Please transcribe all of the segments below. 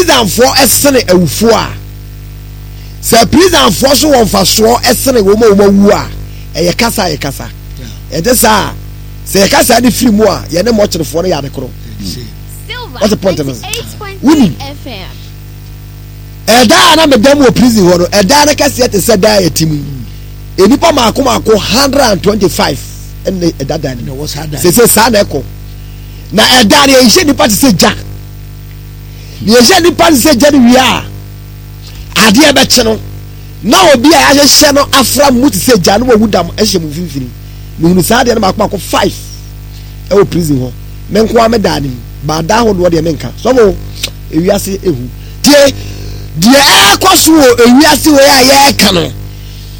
prisonfoɔ sene awufoɔ a, sɛ prisonfoɔ so wɔ mfasoɔ sene wɔn a wɔn awu a, ɛyɛ kasa a yɛkasa. Ɛnte saa a, sɛ yɛka saa de firi mu a, yɛne mɔkyerefoɔ no yɛ ade koro. Wɔte point no? Wonim. Ɛda a na meda mu wɔ prison hɔ no, ɛda no kɛseɛ te sɛ da a yɛte mu yi. Nnipa mmaako mmaako 125 ɛna ɛda dan no mu. Sese saa na ɛkɔ. Na ɛda no yɛhyɛ nnipa te sɛ gya. Na yɛhyɛ nnipa te sɛ gya no wie a, adeɛ bɛkye no na obi a yɛahyehyɛ no afra mu te sɛ gya no wawu dam hyɛ mu mfimfini. Mehunu saa adeɛ no baako baako five ɛwɔ prison hɔ. Me nko ara me daa no mu. Baadaa ahodoɔ deɛ menka. Sɔfo, ewiase ehu. Tie, deɛ ɛrekɔ so wɔ ewiase wei a yɛreka no,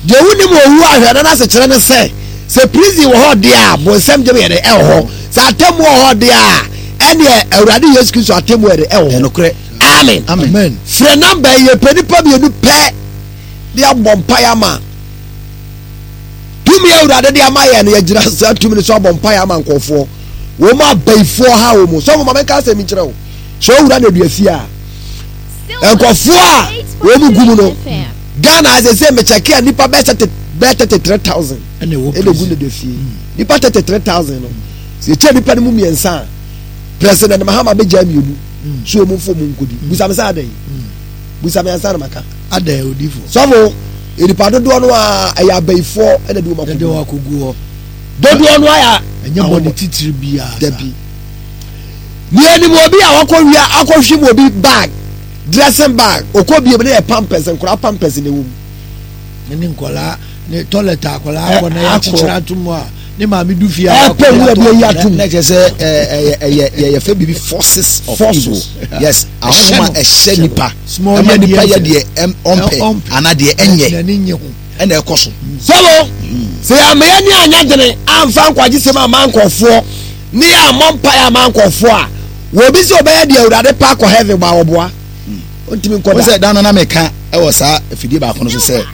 deɛ wonim owu ahwɛ no n'asekyerɛ ne sɛ, sɛ prison wɔ hɔ deɛ a, bonsam gyem yɛ dɛ ɛwɔ hɔ. Sɛ atemmu wɔ hɔ deɛ a, ɛneɛ Awurade Yesu Kristo atemmu yɛ dɛ ɛwɔ hɔ. Ɛnokorɛ. Amen. Amen. Frɛ namba yi, yɛpɛ nipa mmienu pɛ de abɔ mpaeɛ ama. Tumi a Awurade de ama yɛn no, yɛgyina saa tumi no so abɔ mpaeɛ ama nkurɔfoɔ. Wɔn abayifoɔ ha wɔn. Sɔfo ma menka asɛm nkyerɛ wo. Sɛ owura na dua fie a, nkurɔfoɔ a wɔn gu mu no, Ghana sɛ sɛ mekyɛke a nipa bɛyɛ bɛyɛ 33,000 ɛna egu na dua fie. Nipa 33,000 no, sɛ yɛkyɛ nipa no mu mmiɛnsa a, President Mahama bɛgya mmienu so wɔn mfo mu nkodi. Busa me sɛ adɛn? Busa me ansa na maka. Adɛn odifo? Sɔfo, nipa dodoɔ no a ɛyɛ abayifoɔ ɛna de wɔn akɔgu hɔ. Dodoɔ no ayɛ ɛnyɛ bɔne titiri biara. Dabi. Nea anim obi a wakɔ wia akɔhwim obi bag, dressing bag, okɔ biem ne yɛ pampers, nkwadaa pampers na ɛwɔ mu. Ne nkwadaa ne toilet akwadaa akɔ na yɛakyekyere ato mu a ne maame du fie a ɛpɛ wura bi ayi ato mu. Na kyerɛ sɛ ɛyɛ ɛyɛ yɛyɛ fɛ biribi forces of evil yes ahoma ɛhyɛ nipa ɛma nipa yɛ deɛ ɔmpɛ anaa deɛ ɛnyɛ ɛna ɛkɔ so. Sɔbo sɛ yɛameyɛ ne anya dene amfa nkwagye sɛm ama nkɔfoɔ ne yɛ ammɔ mpaeɛ ama nkɔfoɔ a wɔbi sɛ ɔbɛyɛ deɛ Awurade pa akɔ heaven bɔ a wɔboa. Ɔntumi nkɔ da. Sɛ da no na meka wɔ saa afidie baako no so sɛ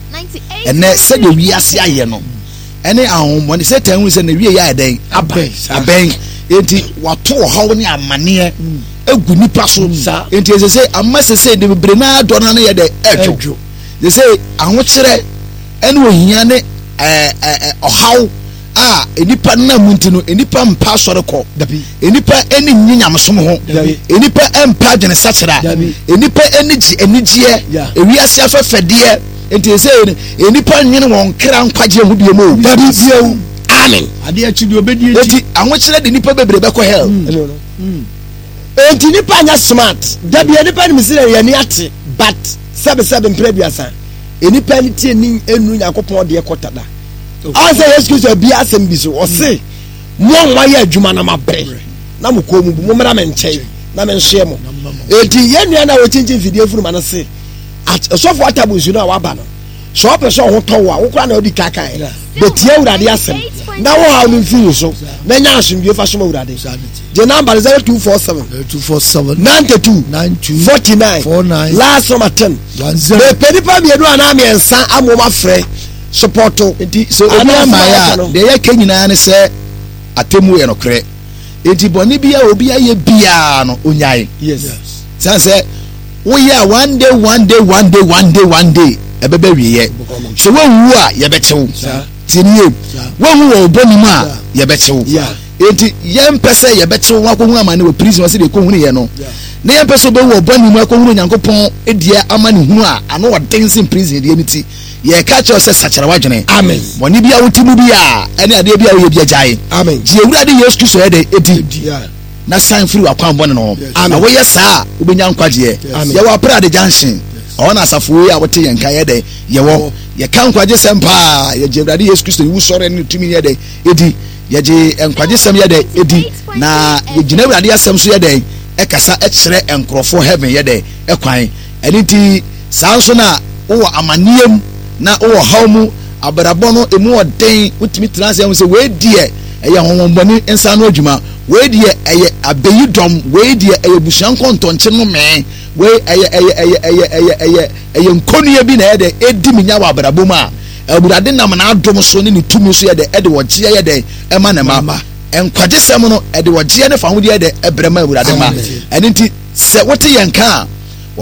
ɛnɛ sɛdeɛ wiase ayɛ no ɛne ahohommɔne Satan hu sɛ na wie yɛ ayɛ dɛn abɛn enti wato ɔhaw ne amaneɛ agu nipa so enti ɛsɛ sɛ ama sɛ sɛ de bebree naa dɔ no ano yɛ dɛ ɛdwo sɛ sɛ ahokyerɛ ɛne ohia ne ɛɛ ɔhaw a nnipa nam mu nti no, nnipa mpa asɔre kɔ. Nnipa ani nnye nyamesom ho. Nnipa mpa adwenesakyera. Nnipa ani gye anigyeɛ, ewiase afɛfɛdeɛ. Nti sɛ nnipa nwene wɔn kra nkwagyeɛ ho bio mu. Dabi bio. Amen. Adeɛ akyi deɛ ɔbɛdi akyi. Eti ahokyerɛ de nnipa bebree bɛkɔ hell. Mm. Mm. Enti nnipa nyɛ smart. Dabi nnipa nim sɛ yɛn ani ate but sɛbesɛbe mpere aduasa. Nnipa ani tie ni enu Nyankopɔn deɛ kɔta da. Ɔn sɛ Yesu Kristo abie asɛm bi so, ɔse, Mo a moayɛ adwuma na moabrɛ na mo kɔn mu bu, mommra me nkyɛn na mensoɛ mo. Enti yɛn nua no a ɔkyinkyin mfidie mfunuma no se, Ɔsɔfo Atabo nsu no a waba no, sɛ ɔpɛ sɛ ɔho tɔ wo a, wo koraa na wodi ka kae. Bɛtie Awurade asɛm na wo haw no mfiri wo so na nya asomdwie fa som Awurade. Gye namba no 0247 0247 92 92 49 49 last number 10. 10. Mepɛ nipa mmienu anaa mmiɛnsa ama wɔn afrɛ. Sopɔto. Nti sɛ obi amaeɛ a, deɛ yɛka nyinaa ne sɛ atemmuo yɛ nokorɛ. Nti bɔne bi a obi ayɛ biara no, onyae. Yes. Sane sɛ woyɛ a one day, one day, one day, one day, one day, ɛbɛbɛ wieɛ. Sɛ woanwu a, yɛbɛkye wo. Tie nie, woanwu wɔ wo bɔne mu a, yɛbɛkye wo. Enti yɛmpɛ sɛ yɛbɛkye wo akɔhunu amane wɔ prison hɔ sɛdeɛ ɛkɔhunuiɛ no. Na yɛmpɛ sɛ wobɛwu wɔ bɔne mu akɔhunu Onyankopɔn deɛ amanehunu a ano ɔden sen prison deɛ no ti. Yɛreka kyerɛ wo sɛ sakyera w'adwene. Amen. Bɔne bi a wote mu bi a ɛne adeɛ bi a woyɛ bi agyae. Amen. Gye Awurade Yesu Kristo yɛ dɛ edi. Na san firi w'akwan bɔne no ho. Na woyɛ saa a wobɛnya nkwagyeɛ. Yɛwɔ Aprade Junction. Ɛhɔ na asafo yi a wote yɛn nka yɛ dɛ yɛwɔ. Yɛka nkwagyesɛm paa. Yɛgye Awurade Yesu Kristo ne wusɔre ne ne tumi yɛ dɛ edi. Yɛgye nkwagyesɛm yɛ dɛ edi. Na yɛgyina Awurade asɛm so yɛ dɛ ɛkasa kyerɛ nkurɔfoɔ heaven yɛ dɛ ɛkwan. Ɛno nti, saa nso na wowɔ amanneɛ mu na wowɔ ɔhaw mu, abrabɔ no emu ɔden, wotumi tena ase ahu sɛ wei deɛ ɛyɛ honhommɔne nsa ano adwuma, wei deɛ ɛyɛ abeyi dɔm, wei deɛ ɛyɛ busua nkɔntɔnkye nomee, wei ɛyɛ ɛyɛ ɛyɛ ɛyɛ ɛyɛ ɛyɛ ɛyɛ nkonnua bi na ɛyɛ dɛ edi me nya wɔ abrabɔ mu a, Awurade nam n'adom so ne ne tumi so yɛ dɛ ɛde ɔgyeɛ yɛ dɛ ɛma ne ma. Nkwagyesɛm no ɛde ɔgyeɛ ne fahodeɛ yɛ dɛ ɛbrɛ ma Awurade ma. Ɛno nti sɛ wote yɛn nka a.